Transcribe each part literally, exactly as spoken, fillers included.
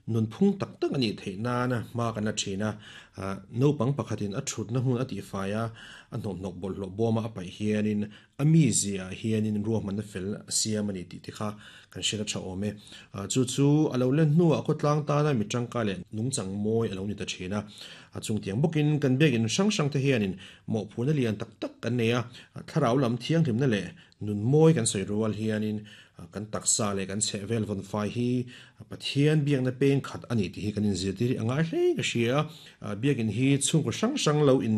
Nunphung tak tak a nih theih nana hma kan la thin a, naupang pakhatin a thutna hmun a tihfai a, a hnawmhnawk bawlhhlawh bawma a paih hianin a mizia ah hianin ruahmanna fel a siam a ni tih te kha kan hriat a tha awm e. Chu chu a lo len hnuah khawtlang tana mi tangkai leh nungchang mawi a lo ni ta thin a. A chungtiang bawkin kan biakin hrang hrang te hianin mawhphurhna lian tak tak kan nei a, thlarau lam thianghlimna leh nun mawi kan sawi rual hianin kan taksa leh kan chheh vel vawn fai hi Pathian biakna peng khat a ni tih hi kan inzirtir hi a ngai hle ka hria. Biakin hi chhungkaw hrang hrang lo in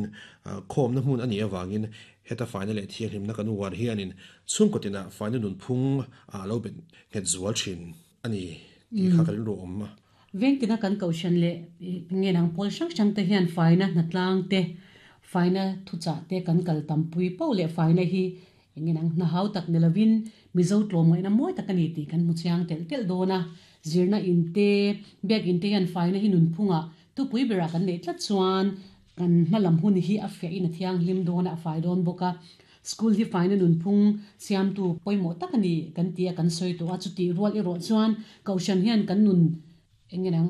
khawmna hmun a nih avangin heta faina leh thianghlimna kan uar hianin chhungkaw tinah faina nunphung a lo bet nghet zual thin a ni tih kha ka rilru awm a. Vengtina kan kohhran leh nge nang pawl hrang hrang te hian faina hnatlang te, faina thuchah te kan kal tampui poh leh faina hi enge nang hna hau tak ni lovin Mizo tlawmngaihna mawi tak a ni tih kan hmu chiang telh telh dawn a. Zirna in te, biak in te hian faina hi nunphungah thupui berah kan neih tlat chuan kan hmalam hun hi a fiahin a thianghlim dawn a, a fai dawn bawk a. School hi faina nunphung siamtu pawimawh tak a ni kan ti a, kan sawi tawh a. Chutih rual erawh chuan Kohhran hian kan nun enge nang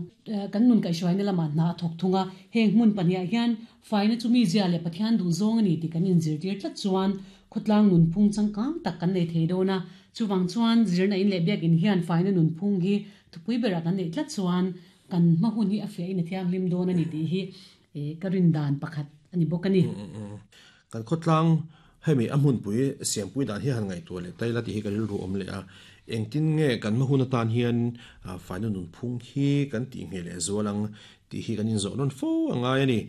kan nun kaihhruaina lamah hna a thawk thung a. Heng hmun pahniah hian faina chu mizia leh Pathian duhzawng a ni tih kan inzirtir tlat chuan khawtlang nunphung changkang tak kan nei thei dawn a. Chuvang chuan zirna in leh biakin hian faina nunphung hi thupui berah kan neih tlat chuan kan hma hun hi a fiahin a thianghlim dawn a ni tih hi ka rin dan pakhat a ni bawk a ni. Kan khawtlang hemi a hmunpui siampui dan hi han ngaihtuah leh taila tih hi ka rilru awm leh a. Engtin nge kan hma hun atan hian faina nunphung hi kan tih ngheh leh zual ang tih hi kan inzawh nawn fo a ngai a ni.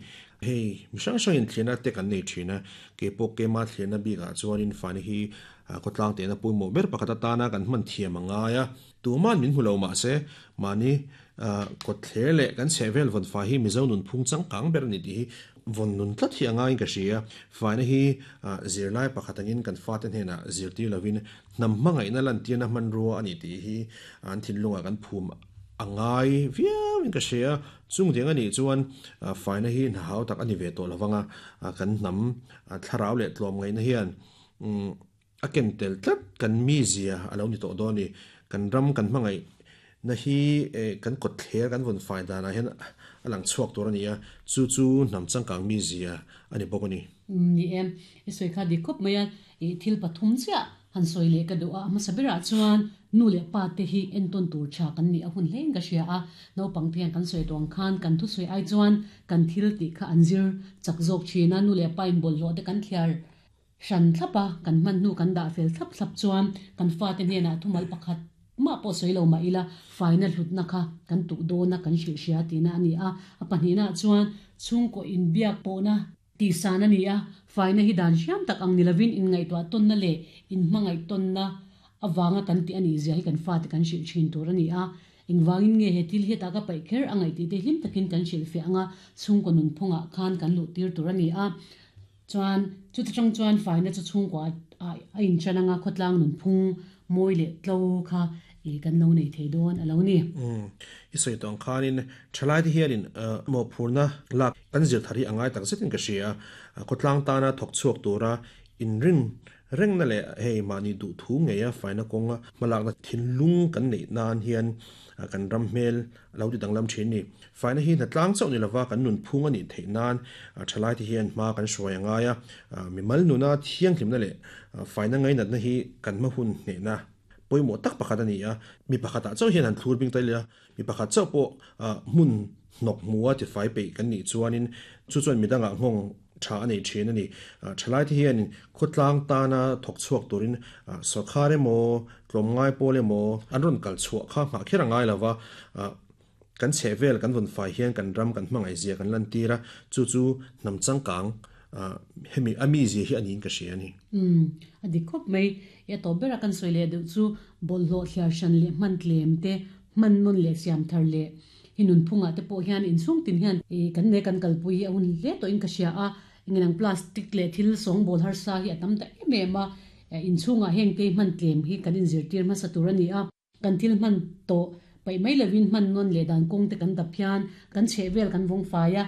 Hei mi hrang hrangin thlirna te kan nei thin a, keipawh keima thlirna bikah chuanin faina hi khawtlang tehna pawimawh ber pakhat atana kan hman thiam a ngai a. Tuman min hmu lo mahse mahni kawtthler leh kan chhehvel vawn fai hi Mizo nunphung changkang ber a ni tih hi vawn nun tlat hi a ngaiin ka hria. Faina hi zirlai pakhat angin kan fate hnenah zirtir lovin hnam hmangaihna lantirna hmanrua a ni tih hi an thinlungah kan phum a ngai viauin ka hria. Chungtiang a nih chuan faina hi hna hau tak a ni ve tawh lovang a, kan hnam thlarau leh tlawmngaihna hian a ken tel tlat kan mizia a lo ni tawh dawn a ni. Kan ram kan hmangaih na hi kan kawtthler kan vawn fai danah hian a lang chhuak tur a ni a, chu chu hnam changkang mizia a ni bawk a ni. Ni e, i sawi kha dik khawp mai a, i thil pathum chiah han sawi leh ka duh a, a hmasa berah chuan nu leh pa te hi entawn tur tha kan nih a hun hlein ka hria a, naupang te hian kan sawi tawh ang khan kan thusawi ai chuan kan thil tih kha an zir chak zawk thin a, nu leh pa in bawlhhlawh te kan thliar hran thlap a, kan hman hnu kan dah fel thlap thlap chuan kan fate hnenah thumal pakhat mah pawh sawi lo mah ila faina hlutna kha kan tuh dawn a, kan hrilh hria tihna a ni a. A pahnihnaah chuan chhungkaw inbiak pawhna tihsan a ni a, faina hi dan hriam tak ang ni lovin inngaihtuah tawnna leh inhmangaih tawnna avanga kan tih a nih zia hi kan fate kan hrilh thin tur a ni a. Engvangin nge he thil hi hetah ka paih kher a ngaih tih te hlim takin kan hrilhfiah anga chhungkaw nunphungah khan kan luh tir tur a ni a. Chuan chuti chang chuan faina chu chhungkua a inchan anga khawtlang nunphung mawi leh tlo kha i kan lo nei thei dawn a lo ni. Umm, i sawi tawh ang khanin thalaite hianin mawhphurhna lak kan zir thar hi a ngai tak zetin ka hria a, khawtlang tana thawk chhuak tura inrin rengna leh hei mahni duh thu ngeia faina kawnga hmalakna thinlung kan neih nan hian kan ram hmel a lo ti danglam thin ni. Faina hi hnatlang chauh ni lova kan nunphung a nih theih nan thalaite hian hma kan hruai a ngai a, mimal nuna thianghlimna leh faina ngainatna hi kan hma hun hnehna pawimawh tak pakhat a ni a. Mi pakhatah chauh hian han thlur bing ta ila, mi pakhat chauh pawh hmun hnawk hmua tifai peih kan nih chuanin chu chuan midangah nghawng tha a nei thin a ni. Thalaite hianin khawtlang tana thawk chhuak turin sawrkhar emaw, tlawmngai pawl emaw an rawn kal chhuah kha nghah kher a ngai lova, kan chhehvel kan vawn fai hian kan ram kan hmangaihzia kan lantir a, chu chu hnam changkang hemi a mizia hi a niin ka hria a ni. Umm, a dik khawp mai. I a tawp bera kan sawi leh deuh chu bawlhhlawh thliar hran leh hman tlem te, hman nawn leh siam thar leh hi nunphungah te pawh hian inchhung tin hian kan ne kan kalpui hi a hun hle tawhin ka hria a, engenang plastic leh thil sawngbawl harsa hi a tam ta em em a, inchhungah heng te hman tlem hi kan inzirtir hmasa tur a ni a, kan thil hman tawh paih mai lovin hman nawn leh dan kawng te kan dap hian kan chhehvel kan vawng fai a,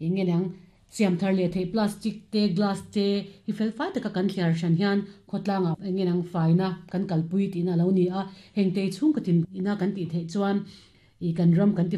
engenang siam thar leh theih plastic te, glass te hi fel fai taka kan thliar hran hian khawtlangah engenang faina kan kalpui tihna a lo ni a, heng te chhungkaw tin ina kan tih theih chuan i kan ram kan ti